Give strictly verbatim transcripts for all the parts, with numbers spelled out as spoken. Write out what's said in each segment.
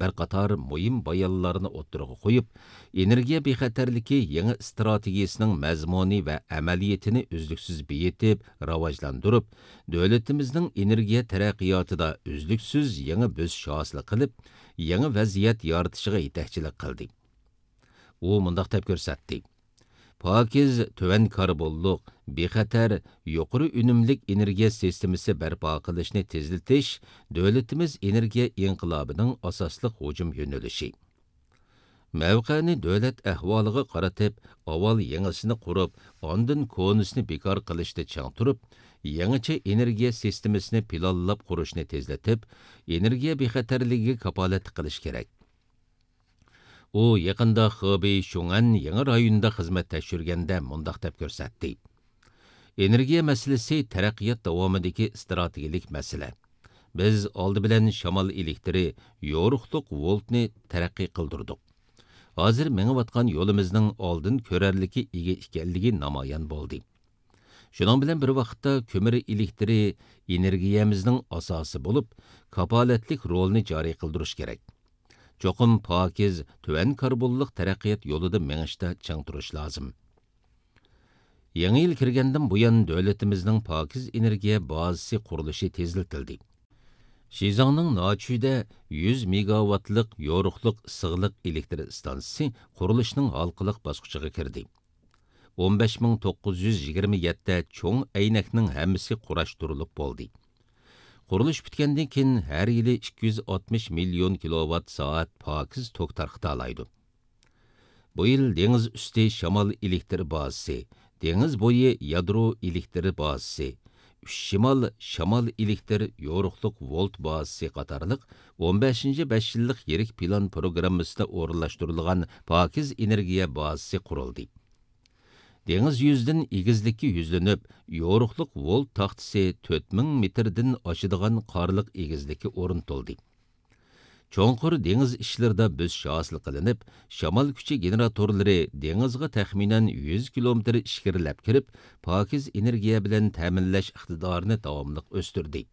بىر قاتار مۇھىم بايانلارنى ئوتتۇرىغا قويۇپ، ئېنېرگىيە بىخەتەرلىكى يېڭى ئىستراتېگىيىسىنىڭ مەزمۇنى ۋە ئەمەلىيىتىنى ئۈزلۈكسىز بېيىتىپ، راۋاجلاندۇرۇپ، دۆلىتىمىزنىڭ ئېنېرگىيە تەرەققىياتىدا ئۈزلۈكسىز يېڭى بۆسۈش ھاسىل قىلىپ، يېڭى ۋەزىيەت يارىتىشىغا يېتەكچىلىك قىلدى. ئۇ مۇنداق دەپ كۆرسەتتى: پاكىز، تۆۋەن كاربونلۇق، بىخەتەر، يۇقىرى ئۈنۈملۈك ئېنېرگىيە سىستېمىسى بەرپا قىلىشنى تېزلىتىش دۆلىتىمىز ئېنېرگىيە ئىنقىلابىنىڭ ئاساسلىق ھۇجۇم يۆنىلىشى. مەۋقەنى دۆلەت ئەھۋالىغا قارىتىپ، ئاۋۋال يېڭىسىنى قۇرۇپ، ئاندىن كونىسىنى بىكار قىلىشتا چىڭ تۇرۇپ، يېڭىچە ئېنېرگىيە سىستېمىسىنى پىلانلاپ قۇرۇشنى تېزلىتىپ، ئېنېرگىيە بىخەتەرلىكىگە كاپالەتلىك قىلىش كېرەك. ئۇ يېقىندا خېبېي شۇڭئەن يېڭى رايونىدا خىزمەت تەكشۈرگەندە مۇنداق دەپ كۆرسەتتى: ئېنېرگىيە مەسىلىسى تەرەققىيات داۋامىدىكى ئىستراتېگىيەلىك مەسىلە. بىز ئالدى بىلەن شامال ئېلېكتىرى، يورۇقلۇق ۋولتنى تەرەققىي قىلدۇردۇق. ھازىر مېڭىۋاتقان يولىمىزنىڭ ئالدىن كۆرەرلىككە ئىگە ئىكەنلىكى نامايان بولدى. شۇنىڭ بىلەن بىر ۋاقىتتا، كۆمۈر ئېلېكتىرى ئېنېرگىيەمىزنىڭ ئاساسى بولۇپ، كاپالەتلىك رولىنى جارى قىلدۇرۇش كېرەك. چوقۇم پاكىز، تۆۋەن كاربونلۇق تەرەققىيات يولىدا مېڭىشتا چىڭ تۇرۇش لازىم. يېڭى يىل كىرگەندىن بۇيان، دۆلىتىمىزنىڭ پاكىز ئېنېرگىيە بازىسى قۇرۇلۇشى تېزلىتىلدى. شىزاڭنىڭ ناچۈيدە يۈز مېگاۋاتلىق يورۇقلۇق ئىسسىقلىق ئېلېكتر ئىستانسىسى قۇرۇلۇشنىڭ ھالقىلىق باسقۇچىغا كىردى. ئون بەش مىڭ توققۇز يۈز يىگىرمە يەتتە چوڭ ئەينەكنىڭ ھەممىسى قۇراشتۇرۇلۇپ بولدى. قۇرۇلۇش پۈتكەندىن كېيىن، ھەر يىلى ئىككى يۈز ئاتمىش مىليون كىلوۋات سائەت پاكىز توك تارقىتالايدۇ. بۇ يىل دېڭىز ئۈستى شامال ئېلېكتر بازىسى، دېڭىز بويى يادرو ئېلېكتر بازىسى، ئۈچ شىمال شامال ئېلېكتر يورۇقلۇق ۋولت بازىسى قاتارلىق ئون بەشىنچى بەش يىللىق يىرىك پىلان پروگراممىسىدا ئورۇنلاشتۇرۇلغان پاكىز ئېنېرگىيە بازىسى قۇرۇلدى. دېڭىز يۈزىدىن ئېگىزلىككە يۈزلىنىپ، يورۇقلۇق ۋولت تاختىسى تۆت مىڭ مېتىردىن ئاشىدىغان قارلىق ئېگىزلىككە ئورنىتىلدى. چوڭقۇر دېڭىز ئىچلىرىدا بۆسۈش ھاسىل قىلىنىپ، شامال كۈچى گېنېراتورلىرى دېڭىزغا تەخمىنەن يۈز كىلومېتىر ئىچكىرىلەپ كىرىپ، پاكىز ئېنېرگىيە بىلەن تەمىنلەش ئىقتىدارىنى داۋاملىق ئۆستۈردى.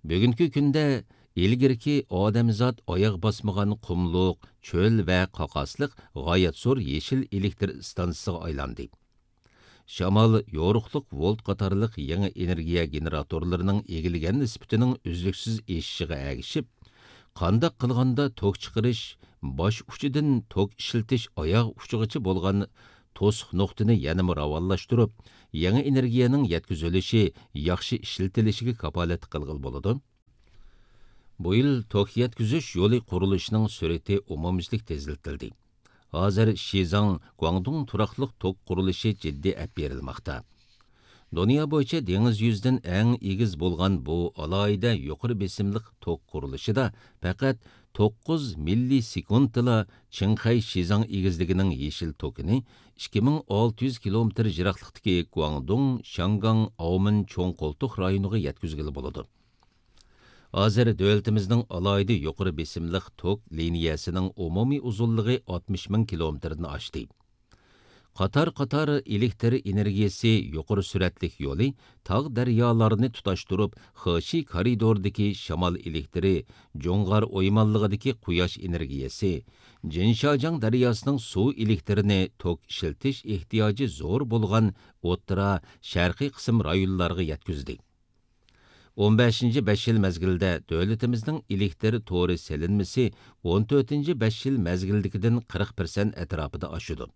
بۈگۈنكى كۈندە ئىلگىرىكى ئادەمزات ئاياغ باسمىغان قۇملۇق، چۆل ۋە قاقاسلىق غايەت زور يېشىل ئېلېكتر ئىستانسىسىغا ئايلاندى. شامال، يورۇقلۇق ۋولت قاتارلىق يېڭى ئېنېرگىيە گېنېراتورلىرىنىڭ ئىگىلىگەن نىسبىتىنىڭ ئۈزلۈكسىز ئېشىشىغا ئەگىشىپ، قانداق قىلغاندا توك چىقىرىش باش ئۇچىدىن توك ئىشلىتىش ئاياغ ئۇچىغىچە بولغان توسۇق نۇقتىنى يەنىمۇ راۋانلاشتۇرۇپ، يېڭى ئېنېرگىيەنىڭ يەتكۈزۈلۈشى ياخشى ئىشلىتىلىشىگە كاپالەتلىك قىلغىلى بولىدۇ. بۇ يىل توك يەتكۈزۈش يولى قۇرۇلۇشىنىڭ سۈرئىتى ئومۇميۈزلۈك تېزلىتىلدى. ھازىر شىزاڭ، گۇاڭدۇڭ تۇراقلىق توك قۇرۇلۇشى جىددىي ئەپ بېرىلماقتا. دۇنيا بويىچە دېڭىز يۈزىدىن ئەڭ ئېگىز بولغان بۇ ئالاھىدە يۇقىرى بېسىملىق توك قۇرۇلۇشىدا پەقەت توققۇز مىللىسېكۇنتتىلا چىڭخەي شىزاڭ ئېگىزلىكىنىڭ يېشىل توكىنى ئىككى مىڭ ئالتە يۈز كىلومېتىر يىراقلىقتىكى گۇاڭدۇڭ، شياڭگاڭ، ئاۋمېن چوڭ قولتۇق رايونىغا يەتكۈزگىلى بولىدۇ. ھازىر دۆلىتىمىزنىڭ ئالاھىدە يۇقىرى بېسىملىق توك لىنىيەسىنىڭ ئومۇمىي ئۇزۇنلۇقى ئاتمىش مىڭ كىلومېتىردىن ئاشتى. قاتار-قاتار ئېلېكتر ئېنېرگىيەسى يۇقىرى سۈرئەتلىك يولى تاغ دەريالارنى تۇتاشتۇرۇپ، خېشى كارىدورىدىكى شامال ئېلېكترى، جۇڭغار ئويمانلىقىدىكى قۇياش ئېنېرگىيەسى، جىنشاجياڭ دەرياسىنىڭ سۇ ئېلېكترىنى توك ئىشلىتىش ئېھتىياجى زور بولغان ئوتتۇرا، شەرقىي قىسىم رايونلارغا يەتكۈزدى. ئون بەشىنچى بەش يىل مەزگىلىدە دۆلىتىمىزنىڭ ئېلېكتر تورى سېلىنمىسى ئون تۆتىنچى بەش يىل مەزگىلدىكىدىن قىرىق پىرسەنت ئەتراپىدا ئاشىدۇ.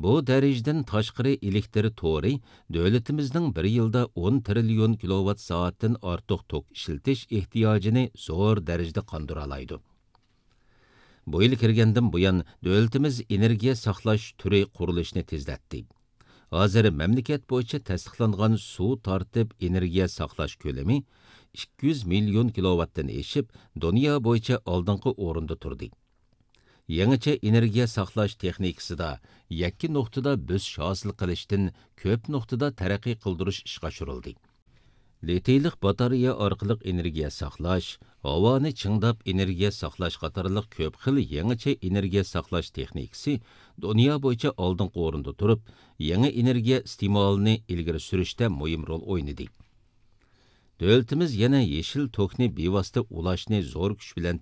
بۇ دەرىجىدىن تاشقىرى ئېلېكتر تورى دۆلىتىمىزنىڭ بىر يىلدا ئون تىرىليون كىلوۋات سائەتتىن ئارتۇق توك ئىشلىتىش ئېھتىياجىنى زور دەرىجىدە قاندۇرالايدۇ. بۇ يىل كىرگەندىن بۇيان، دۆلىتىمىز ئېنېرگىيە ساقلاش تۈرى قۇرۇلۇشىنى تېزلەتتى. ھازىر مەملىكەت بويىچە تەستىقلانغان سۇ تارتىپ ئېنېرگىيە ساقلاش كۆلىمى ئىككى يۈز مىليون كىلوۋاتتىن ئېشىپ، دۇنيا بويىچە ئالدىنقى ئورۇندا تۇردى. يېڭىچە ئېنېرگىيە ساقلاش تېخنىكىسىدا يەككە نۇقتىدا بۆسۈش ھاسىل قىلىشتىن كۆپ نۇقتىدا تەرەققىي قىلدۇرۇش ئىشقا ئاشۇرۇلدى. لىتىيلىق باتارېيە ئارقىلىق ئېنېرگىيە ساقلاش، ھاۋانى چىڭداپ ئېنېرگىيە ساقلاش قاتارلىق كۆپ خىل يېڭىچە ئېنېرگىيە ساقلاش تېخنىكىسى دۇنيا بويىچە ئالدىنقى ئورۇندا تۇرۇپ، يېڭى ئېنېرگىيە ئىستېمالىنى ئىلگىرى سۈرۈشتە مۇھىم رول ئوينىدى. دۆلىتىمىز يەنە يېشىل توكنى بىۋاسىتە ئۇلاشنى زور كۈچ بىلەن